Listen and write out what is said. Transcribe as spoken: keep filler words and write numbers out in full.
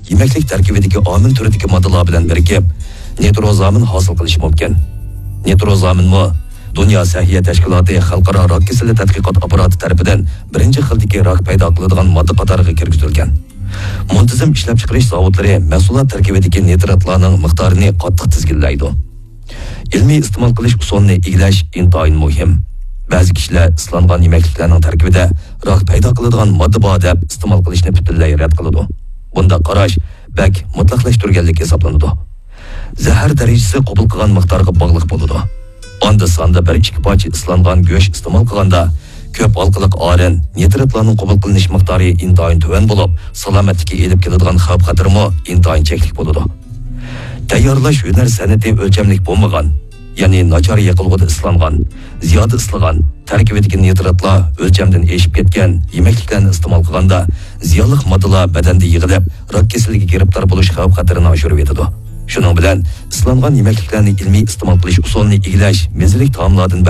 يېمەكلىك تەركىبىدىكى ئامىن تۈرىدىكى ماددىلار بىلەن بىرىكىپ، نىتروزامىن ھاسىل قىلىشى مۇمكىن. نىتروزامىنمۇ دۇنيا سەھىيە تەشكىلاتى خەلقئارا راك كېسىلى تەتقىقات ئاپپاراتى تەرىپىدىن بىرىنچى خىلدىكى راك پەيدا قىلىدىغان ماددا قاتارىغا كىرگۈزۈلگەن. مۇنتىزىم ئىشلەپچىقىرىش زاۋۇتلىرى مەھسۇلات تەركىبىدىكى نىتراتلارنىڭ مىقدارىنى قاتتىق تىزگىنلەيدۇ. ئىلمىي ئىستېمال قىلىش ئۇسۇلىنى ئىگىلەش ئىنتايىن مۇھىم. بەزى كىشىلەر ئىسلانغان يېمەكلىكلەرنىڭ تەركىبىدە راك پەيدا قىلىدىغان ماددا بار دەپ ئىستېمال قىلىشنى پۈتۈنلەي رەت قىلىدۇ. بۇنداق قاراش بەك مۇتلەقلەشتۈرگەنلىك ھېسابلىنىدۇ. زەھەر دەرىجىسى قوبۇل قىلغان مىقدارغا باغلىق بولىدۇ. ئاندا-ساندا بىر ئىككى پارچە ئىسلانغان گۆش ئىستېمال قىلغاندا، كۆپ ھالقىلىق ئارىن، نىتراتلارنىڭ قوبۇل قىلىنىش مىقدارى ئىنتايىن تۆۋەن بولۇپ، سالامەتلىككە ئېلىپ كېلىدىغان خەۋپ-خەتىرىمۇ ئىنتايىن چەكلىك بولىدۇ. تەييارلاش ھۈنەر سەنئىتى ئۆلچەملىك بولمىغان، يەنى ناچار يېقىلغۇدا ئىسلانغان، زىيادە ئىسلىغان، تەركىبىدىكى نىتراتلار ئۆلچەمدىن ئېشىپ كەتكەن يېمەكلىكلەرنى ئىستېمال قىلغاندا، زىيانلىق ماددىلار بەدەندە يىغىلىپ، راك كېسىلىگە گىرىپتار بولۇش خەۋپ-خەتىرىنى ئاشۇرۇۋېتىدۇ. شۇنىڭ بىلەن ئىسلانغان يېمەكلىكلەرنى ئىلمىي ئىستېمال قىلىش ئۇسۇلىنى ئىگىلەش مېزىلىك تائاملاردىن